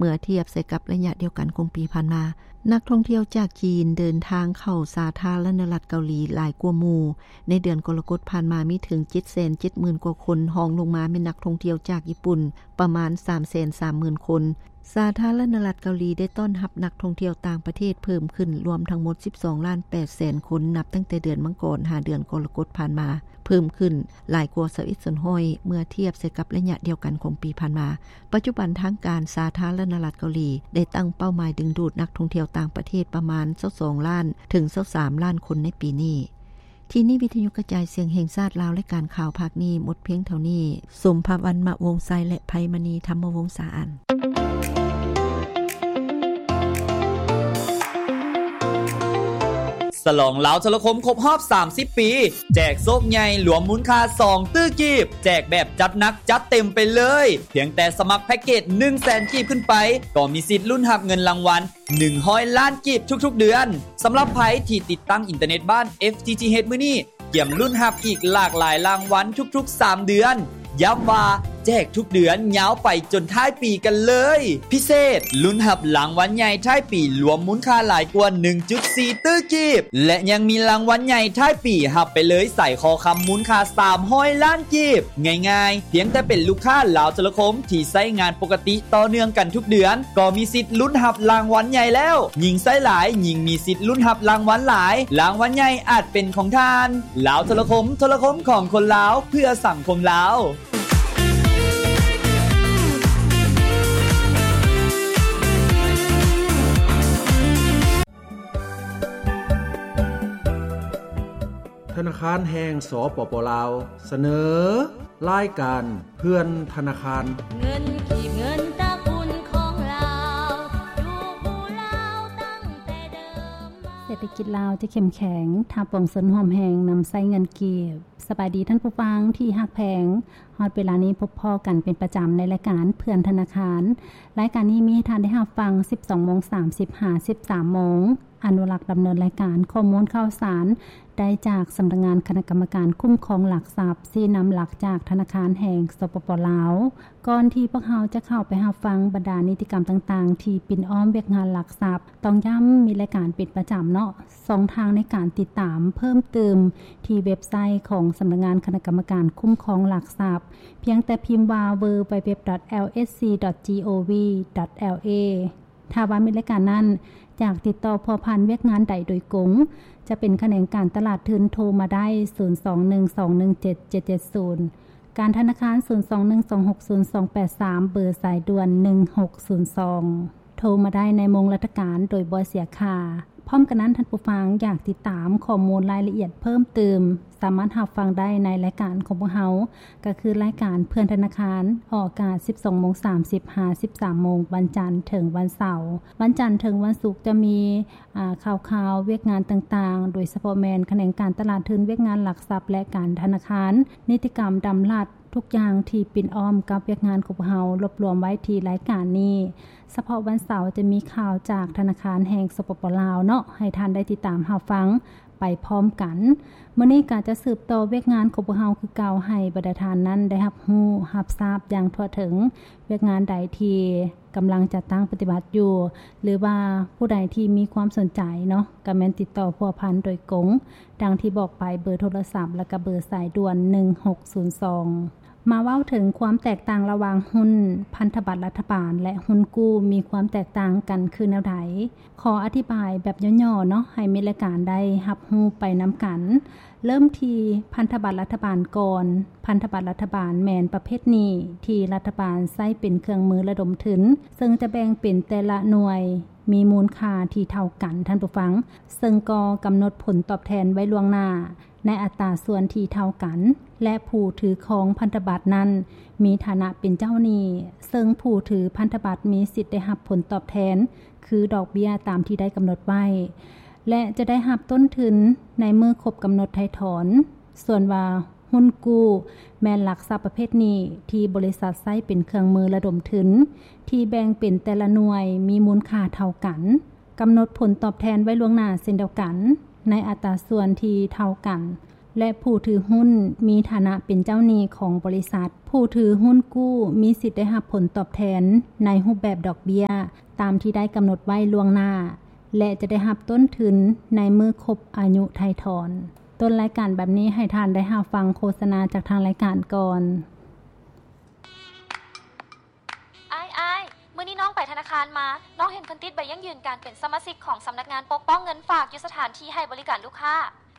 ເມື່ອທຽບໃສ່ກັບໄລຍະດຽວກັນຂອງປີຜ່ານມາ. ນັກທ່ອງທ່ຽວຈາກຈີນເດີນທາງເຂົ້າສາທາລະນະລັດເກົາຫຼີຫຼາຍກວ່າໝູ່. ໃນເດືອນກໍລະກົດຜ່ານມາມີເຖິງ ເຈັດແສນເຈັດໝື່ນ ກວ່າຄົນ, ຮອງລົງມາແມ່ນນັກທ່ອງທ່ຽວຈາກຍີ່ປຸ່ນປະມານ ສາມແສນສາມໝື່ນ ຄົນ. ສາທາລະນະລັດເກົາຫຼີໄດ້ຕ້ອນຮັບນັກທ່ອງທ່ຽວຕ່າງປະເທດເພີ່ມຂຶ້ນລວມທັງໝົດ ສິບສອງລ້ານແປດແສນຄົນ ນັບຕັ້ງແຕ່ເດືອນມັງກອນຫາເດືອນກໍລະກົດຜ່ານມາ, ເພີ່ມຂຶ້ນຫຼາຍກວ່າ ຊາວເອັດສ່ວນຮ້ອຍ ເມື່ອທຽບໃສ່ກັບໄລຍະດຽວກັນຂອງປີຜ່ານມາ. ປັດຈຸບັນທາງການສາທາລະນະລັດເກົາຫຼີໄດ້ຕັ້ງເປົ້າໝາຍດຶງດູດນັກທ່ອງທ່ຽວຕ່າງປະເທດປະມານ ຊາວສອງລ້ານ ເຖິງ ຊາວສາມລ້ານຄົນໃນປີນີ້. ທີ່ນີ້ວິທະຍຸກະຈາຍສຽງແຫ່ງຊາດລາວ ລາຍການຂ່າວພາກນີ້ໝົດພຽງເທົ່ານີ້. ສົມພະວັນ ມະວົງໄຊ ແລະ ໄພມະນີ ທຳມະວົງສາອັນ. ສະຫຼອງລາວໂທລະຄົມຄົບຮອບສາມສິບປີ ແຈກໂຊກໃຫຍ່ລວມມູນຄ່າສອງຕື້ກີບ, ແຈກແບບຈັດໜັກຈັດເຕັມໄປເລີຍ. ພຽງແຕ່ສະໝັກແພັກເກດໜຶ່ງແສນກີບຂຶ້ນໄປ ກໍມີສິດລຸ້ນຮັບເງິນລາງວັນ ໜຶ່ງຮ້ອຍລ້ານກີບທຸກໆເດືອນ. ສຳລັບໃຜທີ່ຕິດຕັ້ງອິນເຕີເນັດບ້ານ ເອັຟທີທີເອັດ ມື້ນີ້ ກຽມລຸ້ນຮັບອີກຫຼາກຫຼາຍລາງວັນທຸກໆສາມເດືອນ. ຢ້ຳວ່າແຈກທຸກເດືອນຍາວໄປຈົນທ້າຍປີກັນເລີຍ. ພິເສດ, ລຸ້ນຮັບລາງວັນໃຫຍ່ທ້າຍປີລວມມູນຄ່າຫຼາຍກວ່າໜຶ່ງຈຸດສີ່ຕື້ກີບ ແລະ ຍັງມີລາງວັນໃຫຍ່ທ້າຍປີຮັບໄປເລີຍສາຍຄໍຄຳມູນຄ່າສາມຮ້ອຍລ້ານ ກີບ. ງ່າຍໆ, ພຽງແຕ່ເປັນລູກຄ້າລາວໂທລະຄົມທີ່ໃຊ້ງານປົກກະຕິຕໍ່ເນື່ອງກັນທຸກເດືອນ ກໍມີສິດລຸ້ນຮັບລາງວັນໃຫຍ່ແລ້ວ. ຍິ່ງໃຊ້ຫຼາຍ, ຍິ່ງມີສິດລຸ້ນຮັບລາງວັນຫຼາຍ. ລາງວັນໃຫຍ່ອາດເປັນຂອງທ່ານ. ລາວໂທລະຄົມ, ໂທລະຄົມຂອງຄົນລາວ, ເພື່ອສັງຄົມລາວ. ທະນາຄານແຫ່ງ ສປປ ລາວ ສະເໜີ ລາຍການເພື່ອນທະນາຄານ. ເງິນກີບ ເງິນຕະກຸນຂອງລາວ ຢູ່ຄູ່ລາວຕັ້ງແຕ່ເດີມມາ. ເສດຖະກິດລາວຈະເຂັ້ມແຂງ ຖ້າປວງຊົນຮ່ວມແຮງນຳໃຊ້ເງິນກີບ. ສະບາຍດີທ່ານຜູ້ຟັງທີ່ຮັກແພງ. ຮອດເວລານີ້ພົບພໍ້ກັນເປັນປະຈຳໃນລາຍການເພື່ອນທະນາຄານ. ລາຍການນີ້ມີໃຫ້ທ່ານໄດ້ຮັບຟັງ ສິບສອງໂມງສາມສິບ ຫາ ສິບສາມໂມງ. ອະນຸລັກດຳເນີນລາຍການ. ຂໍ້ມູນຂ່າວສານໄດ້ຈາກສຳນັກງານຄະນະກຳມະການຄຸ້ມຄອງຫຼັກຊັບ, ຊີ້ນຳຫຼັກຈາກທະນາຄານແຫ່ງ ສປປ ລາວ. ກ່ອນທີ່ພວກເຮົາຈະເຂົ້າໄປຮັບຟັງບັນດານິຕິກຳຕ່າງໆທີ່ປິ່ນອ້ອມວຽກງານຫຼັກຊັບ, ຕ້ອງຢ້ຳມີລາຍການເປັນປະຈຳເນາະ. ຊ່ອງທາງໃນການຕິດຕາມເພີ່ມຕື່ມທີ່ເວັບໄຊຂອງສຳນັກງານຄະນະກຳມະການຄຸ້ມຄອງຫຼັກຊັບ, ພຽງແຕ່ພິມວ່າ www.lsc.gov.la. ຖ້າວ່າມີລາຍການນັ້ນ ຢາກຕິດຕໍ່ພົວພັນວຽກງານໃດໂດຍກົງ, ຈະເປັນຂະແໜງການຕະຫຼາດທຶນ ໂທມາໄດ້ ສູນສອງໜຶ່ງສອງໜຶ່ງເຈັດເຈັດເຈັດສູນ, ການທະນາຄານ ສູນສອງໜຶ່ງສອງຫົກສູນສອງແປດສາມ, ເບີສາຍດ່ວນ ໜຶ່ງຫົກສູນສອງ. ໂທມາໄດ້ໃນໂມງລາຊະການໂດຍບໍ່ເສຍຄ່າ. ພ້ອມກັນນັ້ນ, ທ່ານຜູ້ຟັງຢາກຕິດຕາມຂໍ້ມູນລາຍລະອຽດເພີ່ມຕື່ມ, ສາມາດຮັບຟັງໄດ້ໃນລາຍການຂອງພວກເຮົາ, ກໍຄືລາຍການເພື່ອນທະນາຄານ, ອອກອາກາດ ສິບສອງໂມງສາມສິບ ຫາ ສິບສາມໂມງ, ວັນຈັນເຖິງວັນເສົາ. ວັນຈັນເຖິງວັນສຸກຈະມີ ອາ ຂ່າວຄາວວຽກງານຕ່າງໆ, ໂດຍສະເພາະແມ່ນຂະແໜງການຕະຫຼາດທຶນ, ວຽກງານຫຼັກຊັບ ແລະ ການທະນາຄານ, ນິຕິກຳດຳລັດ, ທຸກຢ່າງທີ່ປິ່ນອ້ອມກັບວຽກງານຂອງພວກເຮົາ ລວບລວມໄວ້ທີ່ລາຍການນີ້. ສະເພາະວັນເສົາຈະມີຂ່າວຈາກທະນາຄານແຫ່ງ ສປປ ລາວ ເນາະ, ໃຫ້ທ່ານໄດ້ຕິດຕາມຮັບຟັງໄປພ້ອມກັນ. ມື້ນີ້ກໍຈະສືບຕໍ່ວຽກງານຂອງພວກເຮົາຄືເກົ່າ, ໃຫ້ບັນດາທ່ານນັ້ນໄດ້ຮັບຮູ້ຮັບຊາບຢ່າງທົ່ວເຖິງ. ວຽກງານໃດທີ່ກຳລັງຈັດຕັ້ງປະຕິບັດຢູ່ ຫຼືວ່າຜູ້ໃດທີ່ມີຄວາມສົນໃຈເນາະ, ກໍແມ່ນຕິດຕໍ່ພົວພັນໂດຍກົງ, ດັ່ງທີ່ບອກໄປ, ເບີໂທລະສັບ ແລະ ກະເບີສາຍດ່ວນ ໜຶ່ງຫົກສູນສອງ. ມາເວົ້າເຖິງຄວາມແຕກຕ່າງລະຫວ່າງຫຸ້ນພັນທະບັດລັດຖະບານ ແລະ ຫຸ້ນກູ້ ມີຄວາມແຕກຕ່າງກັນຄືແນວໃດ? ຂໍອະທິບາຍແບບຫຍໍ້ໆເນາະ, ໃຫ້ມິດລາຍການໄດ້ຮັບຮູ້ໄປນຳກັນ. ເລີ່ມທີ່ພັນທະບັດລັດຖະບານກ່ອນ. ພັນທະບັດລັດຖະບານແມ່ນປະເພດໜີ້ທີ່ລັດຖະບານໃຊ້ເປັນເຄື່ອງມືລະດົມທຶນ, ເຊິ່ງຈະແບ່ງເປັນແຕ່ລະໜ່ວຍມີມູນຄ່າທີ່ເທົ່າກັນ, ທ່ານຜູ້ຟັງ, ເຊິ່ງກໍກຳນົດຜົນຕອບແທນໄວ້ລ່ວງໜ້າ ໃນອັດຕາສ່ວນທີ່ເທົ່າກັນ ແລະ ຜູ້ຖືຄອງພັນທະບັດນັ້ນມີຖານະເປັນເຈົ້າໜີ້, ເຊິ່ງຜູ້ຖືພັນທະບັດມີສິດໄດ້ຮັບຜົນຕອບແທນຄືດອກເບ້ຍຕາມທີ່ໄດ້ກຳນົດໄວ້ ແລະ ຈະໄດ້ຮັບຕົ້ນທຶນໃນມື້ຄົບກຳນົດໄຖ່ຖອນ. ສ່ວນວ່າຫຸ້ນກູ້ແມ່ນຫຼັກຊັບປະເພດໜີ້ທີ່ບໍລິສັດໃຊ້ເປັນເຄື່ອງມືລະດົມທຶນ ທີ່ແບ່ງເປັນແຕ່ລະໜ່ວຍມີມູນຄ່າເທົ່າກັນ. ກຳນົດຜົນຕອບແທນໄວ້ລ່ວງໜ້າເຊັ່ນດຽວກັນ ໃນອັດຕາສ່ວນທີ່ເທົ່າກັນ. ແລະ ຜູ້ຖືຮຸ້ນມີຖານະເປັນເຈົ້າໜີ້ຂອງບໍລິສັດ. ຜູ້ຖືຮຸ້ນກູ້ມີສິດໄດ້ຮັບຜົນຕອບແທນໃນຮູບແບບດອກເບ້ຍ ຕາມທີ່ໄດ້ກຳນົດໄວ້ລ່ວງໜ້າ ແລະ ຈະໄດ້ຮັບຕົ້ນທຶນໃນມື້ຄົບອາຍຸໄຖ່ຖອນ. ຕົ້ນລາຍການບັດນີ້ໃຫ້ທ່ານໄດ້ຮັບຟັງໂຄສະນາຈາກທາງລາຍການກ່ອນ. ອ້າຍ, ອ້າຍ, ມື້ນີ້ນ້ອງໄປທະນາຄານມາ, ນ້ອງເຫັນເພິ່ນຕິດໃບຢັ້ງຢືນການເປັນສະມາຊິກຂອງສຳນັກງານປົກປ້ອງເງິນຝາກຢູ່ສະຖານທີ່ໃຫ້ບໍລິການລູກຄ້າ.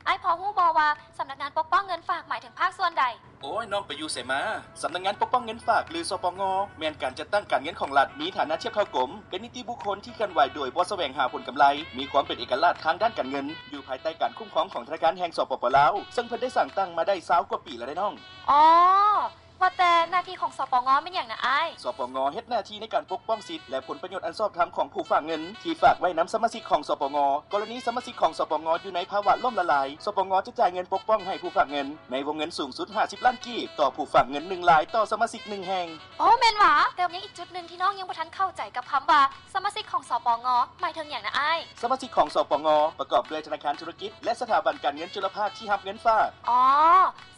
ອ້າຍພໍຮູ້ບໍ່ວ່າສຳນັກງານປົກປ້ອງເງິນຝາກໝາຍເຖິງພາກສ່ວນໃດ? ໂອ້ຍ, ນ້ອງໄປຢູ່ໃສມາ? ສຳນັກງານປົກປ້ອງເງິນຝາກ ຫຼື ສປງ ແມ່ນການຈັດຕັ້ງການເງິນຂອງລັດ, ມີຖານະທຽບເທົ່າກົມ, ເປັນນິຕິບຸກຄົນທີ່ເຄື່ອນໄຫວໂດຍບໍ່ສະແຫວງຫາຜົນກຳໄລ, ມີຄວາມເປັນເອກະລາດທາງດ້ານການເງິນ, ຢູ່ພາຍໃຕ້ການຄຸ້ມຄອງຂອງທະນາຄານແຫ່ງ ສປປ ລາວ, ເຊິ່ງເພິ່ນໄດ້ສ້າງຕັ້ງມາໄດ້ຊາວກວ່າປີແລ້ວເດ້ນ້ອງ. ອໍ ວ່າແຕ່ໜ້າທີ່ຂອງ ສປງ ແມ່ນຫຍັງນະອ້າຍ? ສປງ ເຮັດໜ້າທີ່ໃນການປົກປ້ອງສິດ ແລະ ຜົນປະໂຫຍດອັນຊອບທຳຂອງຜູ້ຝາກເງິນທີ່ຝາກໄວ້ນຳສະມາຊິກຂອງ ສປງ. ກໍລະນີສະມາຊິກຂອງ ສປງ ຢູ່ໃນພາວະລົ້ມລະລາຍ, ສປງ ຈະຈ່າຍເງິນປົກປ້ອງໃຫ້ຜູ້ຝາກເງິນໃນວົງເງິນສູງສຸດຫ້າສິບລ້ານກີບ ຕໍ່ຜູ້ຝາກເງິນໜຶ່ງລາຍຕໍ່ສະມາຊິກໜຶ່ງແຫ່ງ. ໂອ້ ແມ່ນຫວາ? ແຕ່ຍັງອີກຈຸດໜຶ່ງທີ່ນ້ອງຍັງບໍ່ທັນເຂົ້າໃຈກັບຄຳວ່າສະມາຊິກຂອງ ສປງ ໝາຍເຖິງຫຍັງນະອ້າຍ? ສະມາຊິກຂອງ ສປງ ປະກອບດ້ວຍທະນາຄານທຸລະກິດ ແລະ ສະຖາບັນການເງິນຈຸລະພາກທີ່ຮັບເງິນຝາກ. ອໍ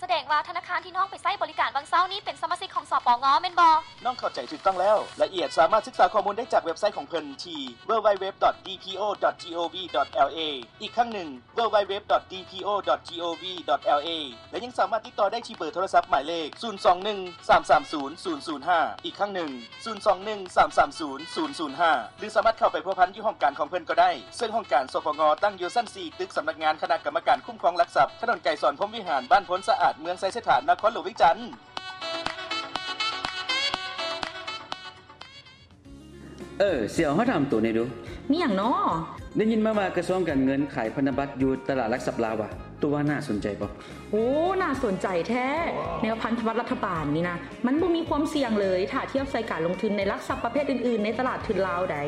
ສະແດງວ່າທະນາຄານທີ່ນ້ອງໄປໃຊ້ບໍລິການຫວ່າງເຊົ້ານີ້ເປັນສະມາຊິກຂອງ ສປງ ແມ່ນບໍ່? ນ້ອງເຂົ້າໃຈຖືກຕ້ອງແລ້ວ. ລາຍລະອຽດສາມາດສຶກສາຂໍ້ມູນໄດ້ຈາກເວັບໄຊຂອງເພິ່ນທີ່ www.dpo.gov.la. ອີກຄັ້ງໜຶ່ງ www.dpo.gov.la ແລະ ຍັງສາມາດຕິດຕໍ່ໄດ້ທີ່ເບີໂທລະສັບໝາຍເລກ ສູນສອງໜຶ່ງ ສາມສາມສູນ ສູນສູນຫ້າ ອີກຄັ້ງໜຶ່ງ ສູນສອງໜຶ່ງ ສາມສາມສູນ ສູນສູນຫ້າ ຫຼື ສາມາດເຂົ້າໄປພົວພັນຢູ່ຫ້ອງການຂອງເພິ່ນກໍໄດ້, ເຊິ່ງຫ້ອງການ ສປງ ຕັ້ງຢູ່ຊັ້ນສີ່ ຕຶກສຳນັກງານຄະນະກຳມະການຄຸ້ມຄອງຫຼັກຊັບ, ຖະໜົນໄກສອນ ພົມວິຫານ, ບ້ານໂພນສະອາດ, ເມືອງໄຊເສດຖາ, ນະຄອນຫຼວງວຽງຈັນ. ເອີ ສຽວ, ຂໍຖາມໂຕແດ່ດູ. ມີຫຍັງນໍ? ໄດ້ຍິນມາວ່າກະຊວງການເງິນຂາຍພັນທະບັດຢູ່ຕະຫຼາດຫຼັກຊັບລາວຫວາ? ໂຕວ່າໜ້າສົນໃຈບໍ່? ໂອ້ ໜ້າສົນໃຈແທ້. ແນວພັນທະບັດລັດຖະບານນີ້ນະ ມັນບໍ່ມີຄວາມສ່ຽງເລີຍ ຖ້າທຽບໃສ່ການລົງທຶນໃນຫຼັກຊັບປະເພດອື່ນໆໃນຕະຫຼາດທຶນລາວໃດ໋. ເ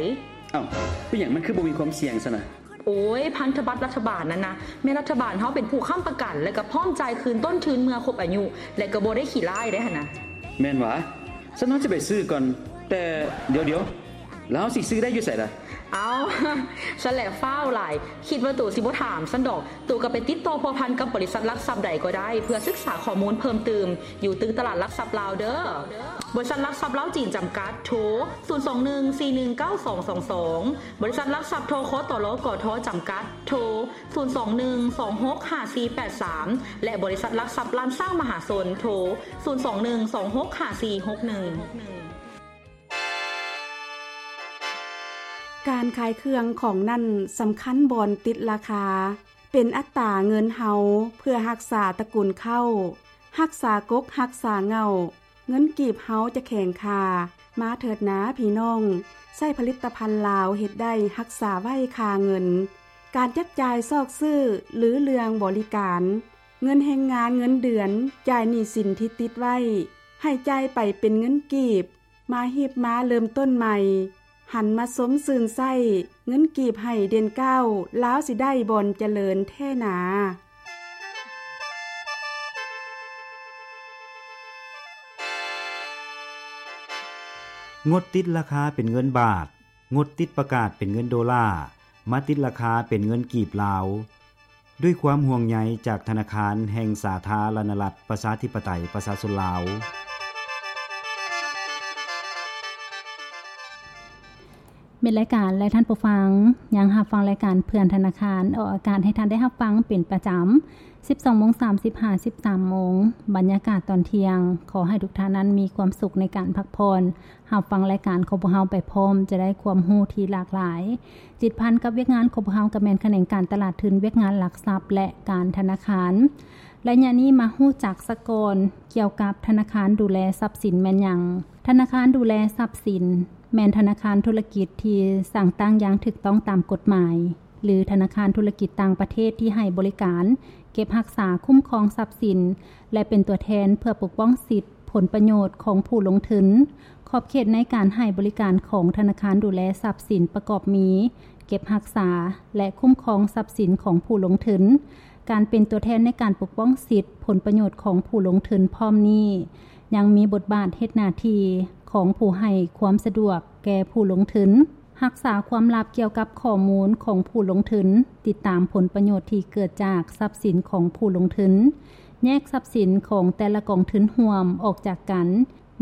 ອົ້າ, ເປັນຫຍັງມັນຄືບໍ່ມີຄວາມສ່ຽງຊັ້ນນະ? ໂອ້ຍ, ພັນທະບັດລັດຖະບານນັ້ນນະ ແມ່ນລັດຖະບານເຮົາເປັນຜູ້ຄ້ຳປະກັນ ແລະ ກໍພ້ອມຈ່າຍຄືນຕົ້ນທຶນເມື່ອຄົບອາຍຸ ແລະ ກໍບໍ່ໄດ້ຂີ້ລ້າຍເດ້ຫັ້ນນະ. ແມ່ນຫວາ? ຊັ້ນເຮົາຊິໄປຊື້ກ່ອນ. ແຕ່ດຽວໆ, ແລ້ວເຮົາຊິຊື້ໄດ້ຢູ່ໃສລະ? ເອົ້າ, ຊັ້ນແຫຼະຟ້າວຫຼາຍ, ຄິດວ່າໂຕຊິບໍ່ຖາມຊັ້ນດອກ. ໂຕກໍໄປຕິດຕໍ່ພົວພັນກັບບໍລິສັດຫຼັກຊັບໃດກໍໄດ້ ເພື່ອສຶກສາຂໍ້ມູນເພີ່ມຕື່ມ ຢູ່ຕຶກຕະຫຼາດຫຼັກຊັບລາວເດີ້. ບໍລິສັດຫຼັກຊັບລາວຈີນຈຳກັດ ໂທ ສູນສອງໜຶ່ງ ສີ່ໜຶ່ງເກົ້າສອງສອງສອງ, ບໍລິສັດຫຼັກຊັບ ທຄຕລ ກທ ຈຳກັດ ໂທ ສູນສອງໜຶ່ງ ສອງຫົກຫ້າສີ່ແປດສາມ ແລະ ບໍລິສັດຫຼັກຊັບລ້ານຊ້າງມະຫາຊົນ ໂທ ສູນສອງໜຶ່ງ ສອງຫົກຫ້າສີ່ຫົກໜຶ່ງ. ການຂາຍເຄື່ອງຂອງນັ້ນສຳຄັນບ່ອນຕິດລາຄາ, ເປັນອັດຕາເງິນເຮົາເພື່ອຮັກສາຕະກຸນເຂົ້າ, ຮັກສາກົກຮັກສາເຫງົ້າ, ເງິນກີບເຮົາຈະແຂງຄ່າ. ມາເຖີດນາພີ່ນ້ອງ, ໃຊ້ຜະລິດຕະພັນລາວເຮັດໄດ້ຮັກສາໄວ້ຄ່າເງິນ, ການຈັບຈ່າຍຊອກຊື້ ຫຼື ເລື່ອງບໍລິການ, ເງິນແຮງງານເງິນເດືອນ, ຈ່າຍໜີ້ສິນທີ່ຕິດໄວ້, ໃຫ້ຈ່າຍໄປເປັນເງິນກີບ. ມາຮີບມາເລີ່ມຕົ້ນໃໝ່, ຫັນມາຊົມຊື່ນໃຊ້, ເງິນກີບໃຫ້ເດັ່ນກ້າວ, ລາວຊິໄດ້ບ່ອນຈະເລີນແທ້ໜາ. ງົດຕິດລາຄາເປັນເງິນບາດ, ງົດຕິດປະກາດເປັນເງິນໂດລາ, ມາຕິດລາຄາເປັນເງິນກີບລາວ. ດ້ວຍຄວາມຫ່ວງໃຍຈາກທະນາຄານແຫ່ງສາທາລະນະລັດ ປະຊາທິປະໄຕ ປະຊາຊົນລາວ. ແມ່ນລາຍການ ແລະ ທ່ານຜູ້ຟັງ ຍັງຮັບຟັງລາຍການເພື່ອນທະນາຄານ ອອກອາກາດໃຫ້ທ່ານໄດ້ຮັບຟັງເປັນປະຈຳ ສິບສອງໂມງສາມສິບ ຫາ ສິບສາມໂມງ ບັນຍາກາດຕອນທ່ຽງ. ຂໍໃຫ້ທຸກທ່ານນັ້ນມີຄວາມສຸກໃນການພັກຜ່ອນ ຮັບຟັງລາຍການຂອງພວກເຮົາໄປພ້ອມ ຈະໄດ້ຄວາມຮູ້ທີ່ຫຼາກຫຼາຍ. ຕິດພັນກັບວຽກງານຂອງພວກເຮົາກໍແມ່ນຂະແໜງການຕະຫຼາດທຶນ, ວຽກງານຫຼັກຊັບ ແລະ ການທະນາຄານ. ໄລຍະນີ້ມາຮູ້ຈັກສາກ່ອນກ່ຽວກັບທະນາຄານດູແລຊັບສິນແມ່ນຫຍັງ? ທະນາຄານດູແລຊັບສິນແມ່ນທະນາຄານທຸລະກິດທີ່ສ້າງຕັ້ງຢ່າງຖືກຕ້ອງຕາມກົດໝາຍ ຫຼື ທະນາຄານທຸລະກິດຕ່າງປະເທດທີ່ໃຫ້ບໍລິການເກັບຮັກສາ, ຄຸ້ມຄອງຊັບສິນ ແລະ ເປັນຕົວແທນເພື່ອປົກປ້ອງສິດ ຜົນປະໂຫຍດຂອງຜູ້ລົງທຶນ. ຂອບເຂດໃນການໃຫ້ບໍລິການຂອງທະນາຄານດູແລຊັບສິນປະກອບມີ ເກັບຮັກສາ ແລະ ຄຸ້ມຄອງຊັບສິນຂອງຜູ້ລົງທຶນ. ການເປັນຕົວແທນໃນການປົກປ້ອງສິດຜົນປະໂຫຍດຂອງຜູ້ລົງທຶນພ້ອມນີ້ ຍັງມີບົດບາດເຮັດໜ້າທີ່ຂອງຜູ້ໃຫ້ຄວາມສະດວກແກ່ຜູ້ລົງທຶນ. ຮັກສາຄວາມລັບກ່ຽວກັບຂໍ້ມູນຂອງຜູ້ລົງທຶນ, ຕິດຕາມຜົນປະໂຫຍດທີ່ເກີດຈາກຊັບສິນຂອງຜູ້ລົງທຶນ, ແຍກຊັບສິນຂອງແຕ່ລະກອງທຶນຮ່ວມອອກຈາກກັນ,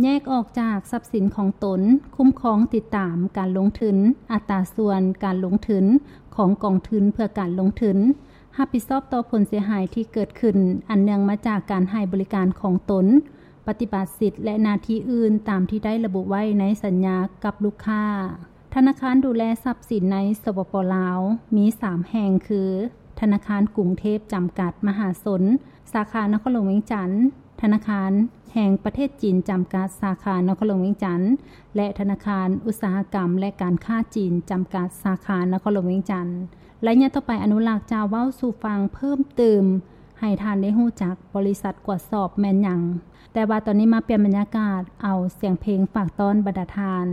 ແຍກອອກຈາກຊັບສິນຂອງຕົນ, ຄຸ້ມຄອງຕິດຕາມການລົງທຶນ, ອັດຕາສ່ວນການລົງທຶນຂອງກອງທຶນເພື່ອການລົງທຶນ, ຮັບຜິດຊອບຕໍ່ຜົນເສຍຫາຍທີ່ເກີດຂຶ້ນອັນເນື່ອງມາຈາກການໃຫ້ບໍລິການຂອງຕົນ, ປະຕິບັດສິດ ແລະ ໜ້າທີ່ອື່ນຕາມທີ່ໄດ້ລະບຸໄວ້ໃນສັນຍາກັບລູກຄ້າ. ທະນາຄານດູແລຊັບສິນໃນ ສປປ ລາວ ມີສາມແຫ່ງຄື ທະນາຄານກຸງເທບຈຳກັດມະຫາຊົນ ສາຂານະຄອນຫຼວງວຽງຈັນ, ທະນາຄານແຫ່ງປະເທດຈີນຈຳກັດ ສາຂານະຄອນຫຼວງວຽງຈັນ ແລະ ທະນາຄານອຸດສາຫະກຳ ແລະ ການຄ້າຈີນຈຳກັດ ສາຂານະຄອນຫຼວງວຽງຈັນ. ໄລຍະຕໍ່ໄປ ອະນຸລັກຈະເວົ້າສູ່ຟັງເພີ່ມຕື່ມ ໃຫ້ທ່ານໄດ້ຮູ້ຈັກບໍລິສັດກວດສອບແມ່ນຫຍັງ. ແຕ່ວ່າຕອນນີ້ມາປ່ຽນບັນຍາກາດ ເອົາສຽງເພງຝາກຕ້ອນບັນດາທ່ານ.